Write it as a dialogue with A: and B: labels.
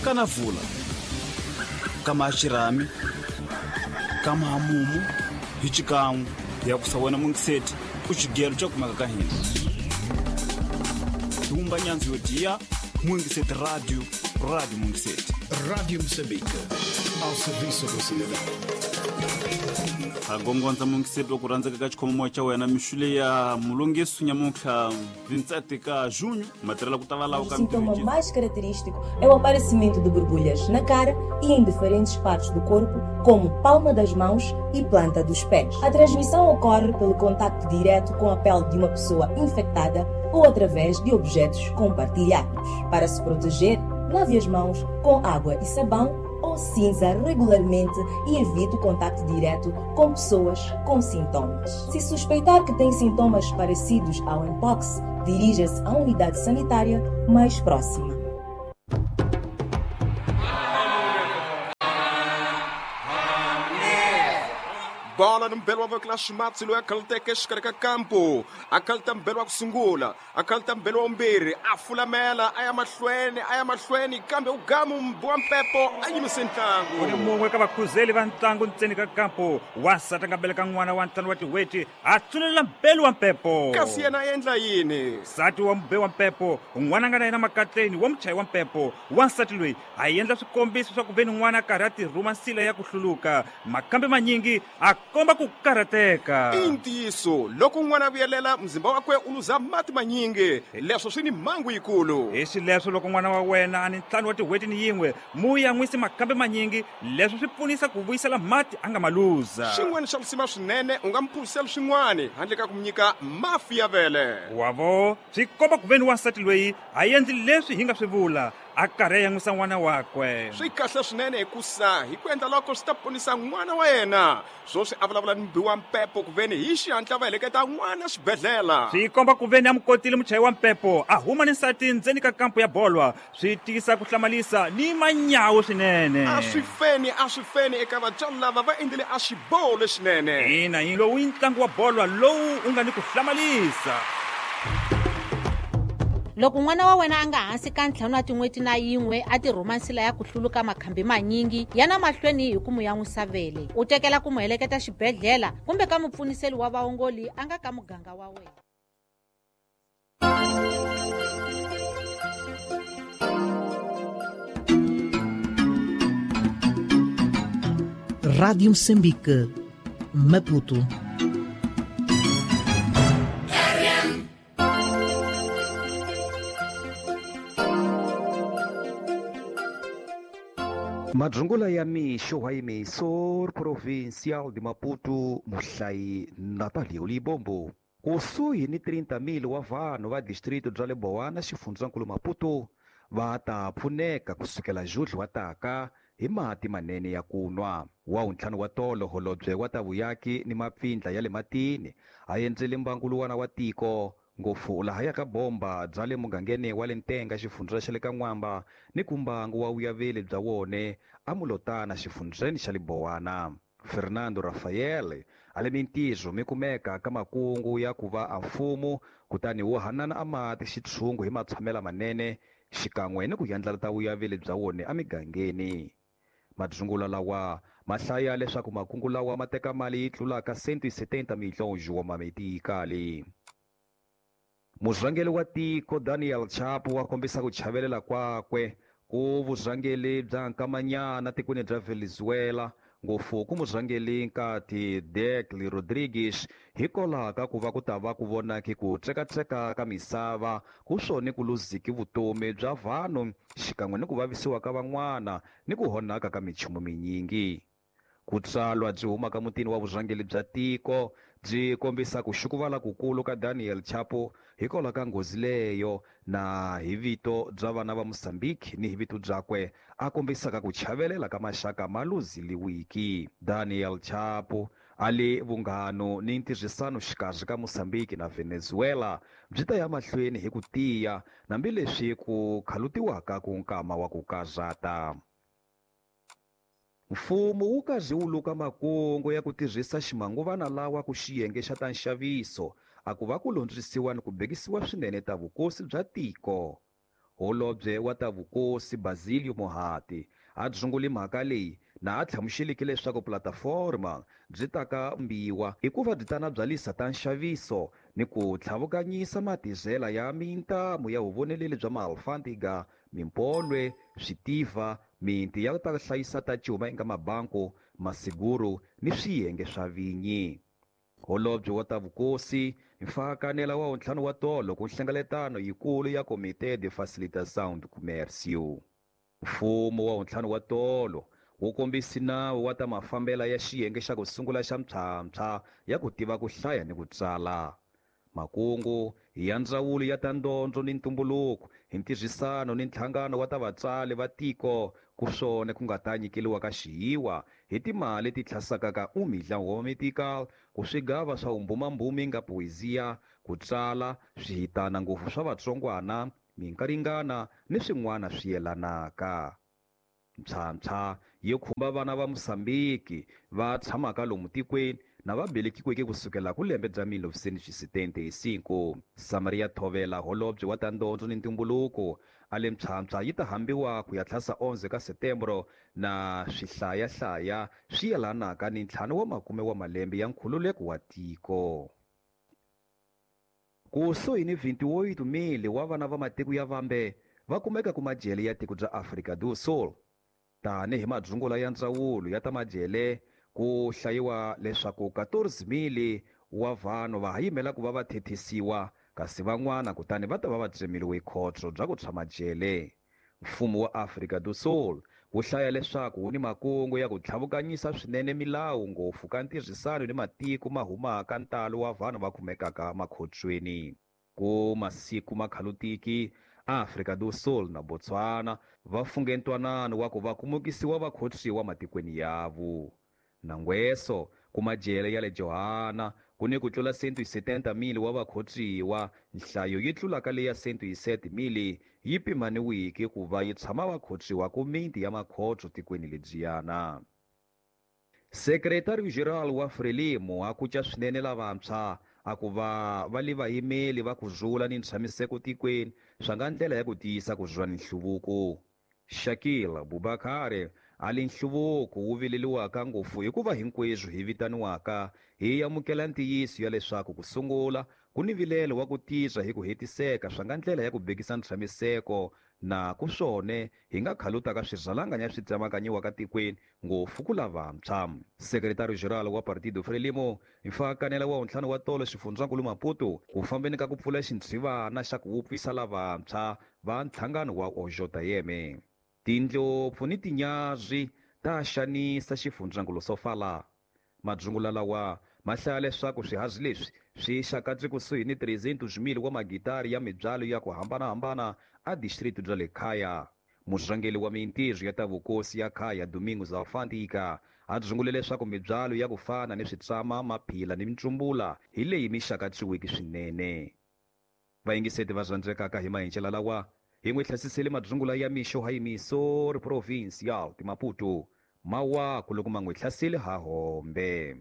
A: Kana vula. Kama xirhami, kama mumu, hi xikan'we ya ku sa wena mungiseti ku xigelo xa kumeka ka hina. Humba nyanzi yo diya Mungiseti Radio, Radio Mungiseti.
B: Rádio Moçambique, ao serviço do cidadão.
A: Ha gongondza mungiseti wa ku rhandzeka ka xikhomomoya xa wena mixule ya mulungisu nyamuntlha 27 ka junho matirhela ku ta va lawa
C: O
A: ka
C: sintoma mais característico é o aparecimento de borbulhas na cara e em diferentes partes do corpo, como palma das mãos e planta dos pés. A transmissão ocorre pelo contacto direto com a pele de uma pessoa infectada ou através de objetos compartilhados. Para se proteger, lave as mãos com água e sabão ou cinza regularmente e evite o contacto direto com pessoas com sintomas. Se suspeitar que tem sintomas parecidos ao mpox, dirija-se à unidade sanitária mais próxima.
D: Bola nombelwa vekela ximatsi loyi a khaluteke exikarhi ka kampo a khaluta mbelwa ku sungula a khaluta mbelwa wumbirhi a fulamela a ya mahlweni a ya mahlweni kambe u gamu wa mpepo a yimise
E: U ni
D: ntlangu
E: mun'we ka vakhuzeli va ntlangu ntseni ka kampo wansati a nga beleka n'wana wa ntlhanu wa tin'hweti a tsunelela mbelu wa mpepo
D: kasi yena a endla yini
E: nsati wa mube wa mpepo n'wana a nga na yena makatleni wa muchayi wa mpepo wansati loyi a endla swikombiso swa ku ve ni n'wana a karhi a tirhuma nsila ya ku hluluka makambe manyingi a komba ku karhateka
D: I ntiyiso loko n'wana a vuyelela mzimba wakwe u luza mati manyingi leswo swi ni mhangu yikulu
E: hi xileswo loko n'wana wa wena a ni ntlhanu wa tin'hweti ni yin'we mu yan'wisi makambe manyingi leswo swi pfunisa ku vuyisela mati a nga ma luza
D: xin'wana xa risima swinene u nga mu phuzisela swin'wana handle ka ku mu nyika mafi ya vele
E: wavo swi komba ku ve ni wansati loyi a endli leswi hi nga swi vula a karhi a yan'wisa n'wana wakwe
D: swi kahle swinene hikusa hi ku endla loko swi ta ponisa n'wana wa yena swoswi a vulavula ni mubi wa mpepo ku veni hi xihatla va heleketa n'wana xibedhlele
E: swi komba ku ve ni a mu kotile muchayi wa mpepo a huma ni nsati ndzeni ka kampo ya bolwa swi tiyisa ku hlamalisa ni manyawu swinene
D: a swi feni a swi feni eka vatswari lava va endlile a xiboho lexinene
E: ina yi lowu i ntlangu wa bolwa lowu u nga ni ku hlamalisa
F: Loko n'wana wa wena a nga hansi ka ntlhanu wa tin'hweti na yin'we a tirhuma nsila ya ku hluluka makhambi manyingi yana mahlweni hi ku mu yan'wisa vele u tekela ku mu heleketa xibedhlele kumbe ka mupfuniseli wa vaongoli a nga ka muganga wa wena.
G: Rádio Moçambique, Maputo.
H: Madzungula ya mixo wa emissor provincial de Maputo muhlayi Natalio Libombo kusuhi ni 30,000 wa vanhu va distrito bya le Bowana xifundzankulu Maputo va ta pfuneka kusukela Julho wa taka hi mati manene ya ku nwa wa wuntlhanu wa tolo holobye wa ta vuyaki ni mapfindla ya le matini a endzele mbanguluwana wa tiko ngopfu lahaya ka bomba bya le mugangeni wa le ntenga xifundza xa le ka n'wamba ni ku mbangu wa vuyaveli bya wone amulotana xifundzeni xa le Bowana Fernando Rafael a le mintirho mi kumeka ka makungu ya ku va a mfumo kutani wu hanana a mati xitshungu hi matshamela manene xikan'we ni ku yandlala ta vuyaveli bya wone emigangeni madzungula lawa ma hlaya leswaku makungu lawa ma teka mali yi tlulaka 170 milhões wa mametikali murhangeri wa tiko Daniel Chapo wa kombisa ku chavelela kwakwe ku vurhangeri bya nkamanyana tikweni bya Venezuela ngopfu ku murhangeri nkati Delcy Rodriguez hikwalaho ka ku va ku ta va ku vonaki ku tsekatseka ka misava ku swone ku luziki vutomi bya vanhu xikan'we ni ku vavisiwa ka van'wana ni ku honaka ka minchumu minyingi ku tsalwa byi humaka mutini wa vurhangeri bya tiko byi kombisa ku xukuvala kukulu ka Daniel Chapo hikwalaho ka nghozi leyo na hi vito bya vana va Mozambique ni hi vito byakwe a kombisaka ku chavelela ka maxaka ma luziliwiki Daniel Chapo a le vunghano ni ntirhisano xikarhi ka Mozambique na Venezuela byi ta ya mahlweni hi ku tiya hambileswi ku khalutiwaka ku nkama wa ku karhata mfumo wu karhi wu luka makungu ya ku tirhisa ximanguvana lawa ku xiyenge xa ta nxaviso a ku va ku londzisiwa ni ku bekisiwa swinene ta vukosi bya tiko. Holobye wa ta vukosi Basilio Mohati a dzunguli mhaka leyi na a hlamuseleke leswaku plataforma byi ta ka mbiwa hikuva byi tana byalisa ta nxaviso ni ku tlhavukanyisa matizela ya mintamu ya vuvoneleli bya maalfantiga, mimpolwe, switiva, minti ya ta hlayisa ta cuma eka mabanku, masiguru ni swiyenge swa vinyi. Holobye wa ta vukosi mfakanela wa ntlhanu wa tolo ku nhlengeletano yikulu ya Comité de Facilitação do Comércio. Mfumo wa ntlhanu wa tolo wu kombisi nawu wa ta mafambela ya xiyenge xa ku sungula xa mpshampsha ya ku tiva ku hlaya ni ku tsala. Makungu ya ndzawulo ya ta ndondzo ni ntumbuluko hi ntirhisano ni nhlangano wa ta vatsali va tiko ku swona ku nga ta nyikeliwa ka xiyiwa hi timali ti tlhasaka ka umidla medical ku swigava swa umbumambumi nga poesia ku tsala swihitana ngopfu swa vatsongwana minkaringana ni swin'wana swi yelanaka. Mpshampsha yi khumba vana va Mosambiki va tshamaka lomu tikweni na va velekiweke kusukela ku lembe bya 1975. Samaria Thovela holobye wa ta ndondzo ni ntumbuluko a le mpshampsha yi ta hambiwa ku ya tlhasa 11 ka Setembro na swihlayahlaya swi yelanaka ni 50 wa malembe ya nkhululeko wa tiko. Kusuhi ni 28,000 wa vana va matiko ya vambe va kumeka ku majele ya tiko bya Afrika do Sul. Tanihi madzungula ya ndzawulo ya ta majele ku hlayiwa leswaku 14,000 wa vanhu va ha yimela ku va va thethisiwa kasi van'wana kutani va ta va va tsemiwe khotso bya ku tshama jele. Mfumo wa Afrika do Sul wu hlaya leswaku wu ni makungu ya ku tlhavukanyisa swinene milawu ngopfu ka ntirhisano ni matiko ma humaka ntalo wa vanhu va kumekaka makhotsweni. Ku masiku makhalutiki Afrika do Sul na Botswana va funge ntwanano wa ku va kumukisiwa vakhotsiwa matikweni yavo. Nangweso ku majele ya le Johanna ku ni ku tlula 170,000 wa vakhotsiwa, nhlayo yi tlulaka leya 107,000 yi pimaniweke ku va yi tshama vakhotsiwa ku miti ya makhotso tikweni lebyiyana. Sekretari General wa Frelimo a kuca swinene lavantshwa a ku va va le vayimeli va ku zula ni ntshamiseko tikweni swa nga ndlela ya ku tiyisa ku zula ni nhluvuko. Shakil Bubakari a li nhluvuko wu vileliwaka ngopfu hikuva hinkweswo hi vitaniwaka hi amukela ntiyiso ya leswaku ku sungula ku ni vilelo wa ku tisa hi ku hetiseka swa nga ndlela ya ku bekisa ntshamiseko na ku swone hi nga khalutaka swirhalanganya swi tsemakanyiwaka tikweni ngopfu ku lavantshwa. Sekretari General wa Partido Frelimo mfakanela wa ntlhanu wa tolo xifundzankulu Maputo ku fambeni ka ku pfula xintshivana xa ku wupfisa lavantshwa va nhlangano wa OJM. Tindlopfu ni tinyazwi ta xanisa xifundzankulu Sofala. Madzungula lawa ma hlaya leswaku swihazi leswi swi xakatse kusuhi ni 300,000 wa magitari ya mibyalo ya ku hambanahambana a district bya le Khaya. Murhangeri wa mintirho ya ta vukosi ya Khaya Domingos Alfantika a dzungule leswaku mibyalo ya ku fana ni switsama, maphila ni mitsumbula hi leyi mi xakatsiweke swinene. Vayingiseti va rhandzekaka hi mahincela lawa hi n'wi hlasisele madzungula ya mixo ha Emissor Provincial de Maputo mawaku loko ma n'wi hlasele ha hombe.